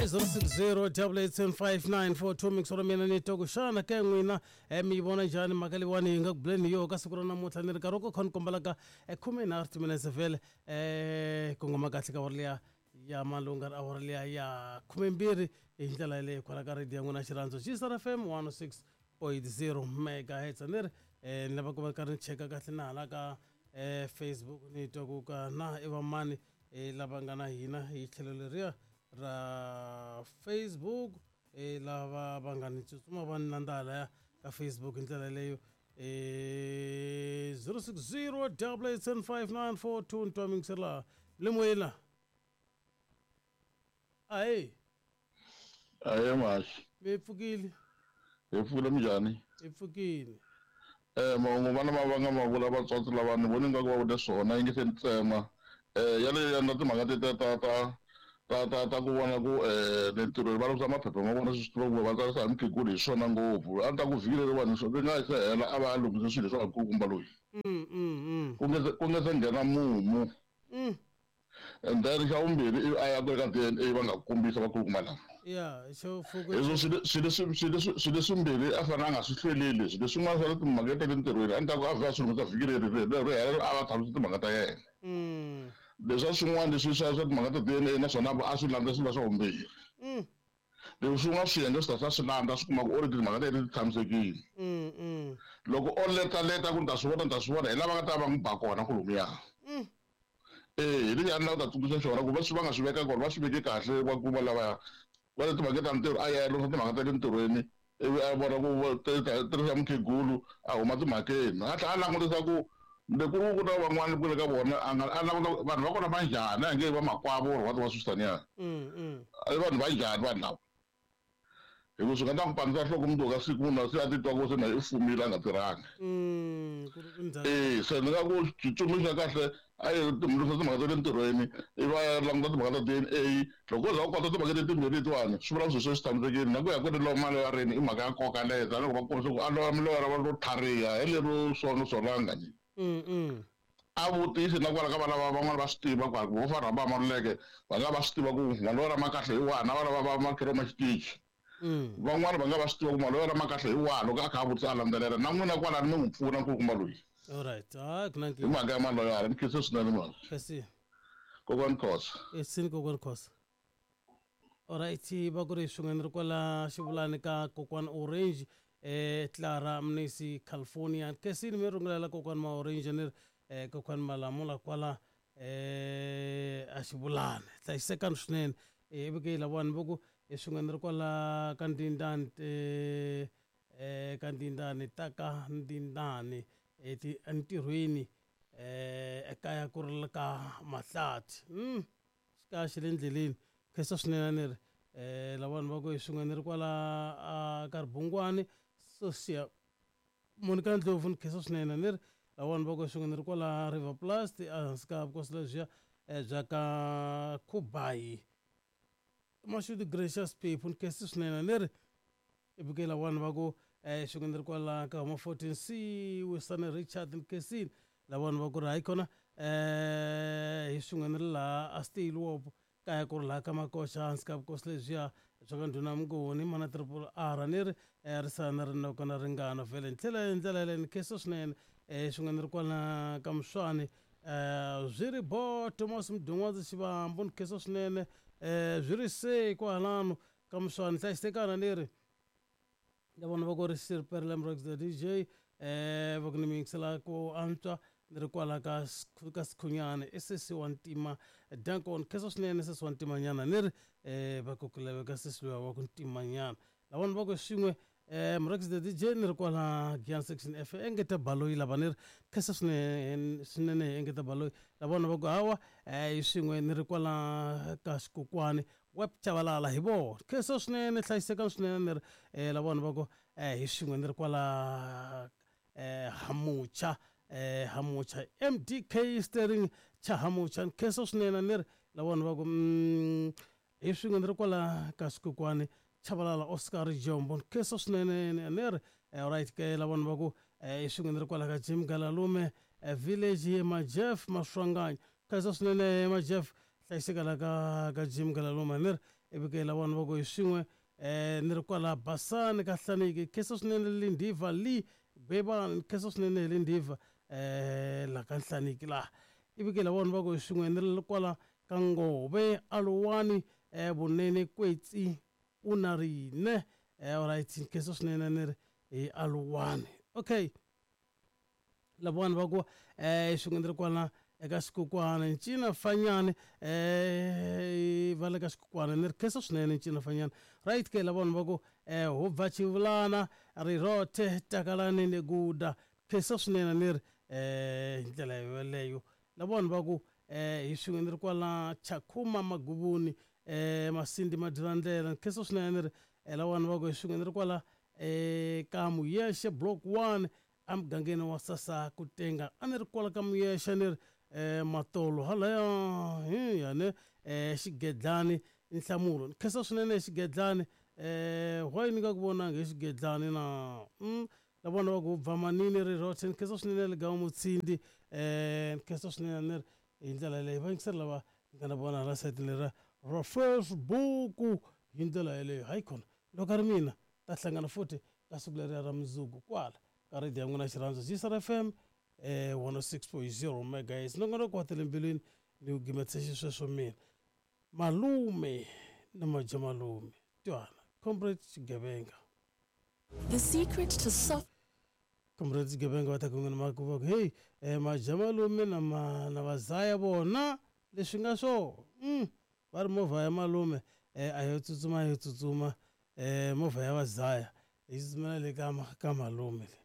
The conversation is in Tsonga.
I 060 8875942 mixolo mina ni twa ku xana ke n'wina mi yi vona njhani mhaka leyiwani hi nga ku buleni hi yoho ka siku ra namuntlha ni ri nkarhi wa ku kha ni kombelaka 13 timinetse vhele kongoma kahle ka awara liya ya malunga awara liya ya 12 hi ndlela yaleyo kwala ka radio ya n'wina xirhandzu Gstar FM 106.0 megahertz ni ri ni lava ku va karhi ni cheka kahle na hala ka Facebook ni twa ku ka na i vamani lava nga na hina hi tlhelo leriya ra Facebook lava va nga ni tsutsuma va ni landza halaya ka Facebook hi ndlela yaleyo 060 8875942 ni twa mingiseri laha le moyeni laha ahe. Ahe mhaxi. Mi pfukile? Hi pfukile, minjhani? Hi pfukile. Mahungu vana va va nga ma vula vatswatsi lava ni voni ingaku va vule swona yi nge se ni tsema yaleyo ya na timhaka ta ta ta ta ta ta ku vona ku le ntirhweni va langutisa maphepha ma vona swi tiva ku va tsarisa hi mukhegulu hi swona ngopfu a ni ta ku vhiki leriwani ri nga se hela a va a lunghise swilo leswi vakulukumba loyi ku nge se nghena mumu. And then xa vumbirhi ivi a ya ku ri ka DNA va nga kombisa vakulukumba lava. Ya xo fuku. Hezwo swilo leswimbirhi a fanele a nga swi hlweleli leswi leswin'wana swa timhaka ta le ntirhweni a ni ta ku a vhe a swi lunghisa vhiki leri ri ri hela a va tshamisa timhaka ta yena. Leswa swin'wana leswi swa timhaka ta DNA naswona a swi landza swilo swa vumbirhi. Leswi swin'wana swiyenge swi ta swa swi landza swi kuma ku already timhaka ta yena ti tshamisekile. Loko o letaleta ku ni ta swi vona ni ta swi vona hi lava nga ta va n'wi ba kona kolomuya. Hi lexi a ni lava ku ta tsundzuxa xona ku va swi va nga swi veka kona va swi veke kahle va kuma lavaya va le timhaka ta ntirho a ya lunghisa timhaka ta le ntirhweni ivi a vona ku tirhisa mukhegulu a huma timhakeni a tlhela a langutisa ku le ku ri ku na van'wana kule ka vona a nga a languta vanhu va kona va njhani a nge va makwavo or what wa swi i vanhu va njhani vanhu lava hi ku swi nga ta n'wi pandzisa nhloko mundzuku ka siku munhu a se a titwa ku se na i fumile a nga tirhangi. Se ni nga ku xitsundzuxo xa kahle a yi lunghisa timhaka ta le ntirhweni ivi a ya languta timhaka ta D_N_A loko wo za u kota timhaka leti timbirhi letiwani swi vula ku swilo swe swi tshamisekile na ku ya kwele maloyareni i mhaka ya nkoka leyo tanihiloko va kombisa ku a loya loyara va ro tlhariha hi lero solanga njhe. A vutisi na kwala ka vana va van'wana va swi tiva ku vo fa rhamba Maluleke va nga va swi tiva ku maloyara ma kahle hi wahi na vana va va makhero ma xitichi. Van'wana va nga va swi tiva ku maloyara ma kahle hi wahi loko a kha a vutisa a landzelela na n'wina kwalani mi n'wi pfuna nkulukumba loyi. Alright, hayi ku na Hi mhaka ya maloyara ni khense swinene mhani. Khensile. Kokwani Khosa. Esini kokwani Khosa. Alright, va ku ri swin'we ni ri kwala xivulani ka kokwani Orange Clara Mnisi California. Khensile mi rungulela kokwani ma Orange ni ri kokwani Malamula kwala a xivulani. Hlayisekani swinene. Ivi ke lavawani va ku swin'we ni ri kwala ka Ndindani ka Ndindani ta ka Ndindani entirhweni ekaya ku ri ka Mahlathi. Xikaya xi le ndleleni. Khensa swinene ni ri lavawani va ku hi swin'we ni ri kwala ka Ribungwani Sosia Monica Ndlovu ni khensa swinene ni ri lavawani va ku hi swin'we ni ri kwala River Plast ehansi ka vukosi lebyiya bya ka Khubayi Mashudu Gracious Phephu ni khensa swinene ni ri ivi ke lavawani va ku swin'we ni ri kwala ka huma 14 C Wisani Richard ni khensile lavawani va ku ri hayi khona hi swin'we ni ri laha a Steenwop kaya ku ri laha ka Makoxa hansi ka vukosi lebyiya bya ka ndhuna Mnguni mana triple R ni ri ri sala na rinoko na ringano vhele ni tlhela hi ndlela yaleyo ni khensa swinene swin'we ni ri kwala ka Muswani swi ri bo Thomas Mdungwazi Xivambu ni khensa swinene swi ri se kwalano ka Muswani hlayisekana ni ri ya vona va ku ri Sir Perlem Rocks the DJ va ku ni mi yingisela ku antswa ni ri kwala ka ka Sikhunyani i sesi wa ntima Dankon khensa swinene sesi wa ntimanyana ni ri va ku ku laveka sesi luya wa ku ntimanyana lavona va ku swin'we Murhangisi the DJ ni ri kwala Giyani section F engeta baloyi lava ni ri khensa swinene swinene engeta baloyi lavona va ku hawa hi swin'we ni ri kwala ka xikokwani Web Chabalala hi vona khensa swinene hlayisekani swinene ni ri lavona va ku hi swin'we ni ri kwala Hamucha Hamucha M_D_K steering cha Hamucha ni khensa swinene ni ri lavona va ku hi swin'we ni ri kwala ka xikokwani Chabalala Oscar Jombo ni khensa swinene ni ri right ke lavona va ku hi swin'we ni ri kwala ka Jim Galalume village Majeff Maswanganyi khensa swinene Majeff hlayiseka la ka ka Jim Galalume ni ri Ivi ke lavona va ku hi swin'we ni ri kwala Basani ka Hlaniki. Khensa swinene Lindiva Lee Gwebani, khensa swinene hi Lindiva la ka Nhlaniki laha. Ivi ke lavona va ku hi swin'we ni ri kwala ka Ngove Aluwani Vunene Kwetsi u na rine. Alright, khensa swinene ni ri hi Aluwani. Okay. Lavona va ku swin'we ni ri kwala eka xikukwana Ncina Fanyani, va le ka xikukwana ni ri khensa swinene Ncina Fanyani. Right ke lavona va ku hu bva Chivulana Rirothe Takalani ni Guda, khensa swinene ni ri hi ndlela yoleyo. Lavona va ku hi swin'we ni ri kwala Chakhuma Maguvuni Masindi Madyirandlela, khensa swinene ni ri lavona va ku hi swin'we ni ri kwala ka Muyexe Block 1 emugangeni wa Sasa Kutenga, a ni ri kwala ka Muyexe ni ri matolo halaya yane Xigedlani Nhlamulo, ni khensa swinene Xigedlani. Why ni nga ku vonanga hi Xigedlani na? Lavona va ku bva Manini Rirothe, ni khensa swinene Ligawu Mutshindi, ni khensa swinene ni ri hi ndlela yeleyo. Va yingiseri lava ni nga na vona hala sayitini lera ra Facebook hi ndlela yeleyo. Hayi khona loko a ri mina ta hlangana futhi ka siku leriya ra mundzuku kwala ka radio ya n'wina xirhandzu GCR FM 106.0 megahertz. Nongonoko wa tele mbilwini ni wu gimetise xisweswo mina malume na majamalume twana Comrade Xigevenga. The secret to soft Comrade Xigevenga va ta ku n'wina ma ku va ku hey majamalume na ma na vazaya vona leswi nga swo va ri movha ya malume a yo tsutsuma yo tsutsuma movha ya vazaya yi tsutsumela le ka malume le.